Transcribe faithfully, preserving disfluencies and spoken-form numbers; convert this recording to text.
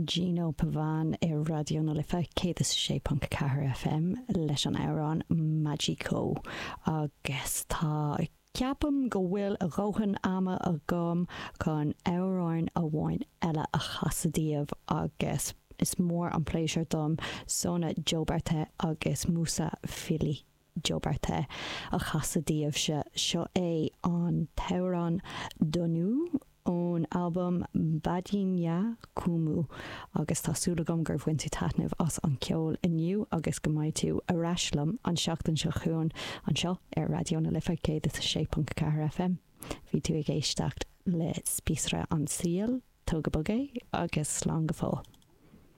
Gino Pavan ar Raidió na Life céad is sé ponc ceathair FM leis an amhrán Magico agus tá ceapaim go bhfuil a dhóthain ama agam chun amhrán amháin eile a chasadh daoibh agus is mór an pléisiúr dom Sona Jobarteh agus Moussa Fily Jobarteh a chasadh daoibhse seo é an t-amhrán Donu ón albam Badinja Kumu agus tá súil agam gur bhain tú taitneamh as an ceol inniu agus go mbeidh tú ar ais liom an seachtain seo chugainn anseo ar Raidió na Life céad is sé ponc ceathair FM. Bhí tú ag éisteacht le Spíosra an tSaoil, tóg go bog é agus slán go fóill.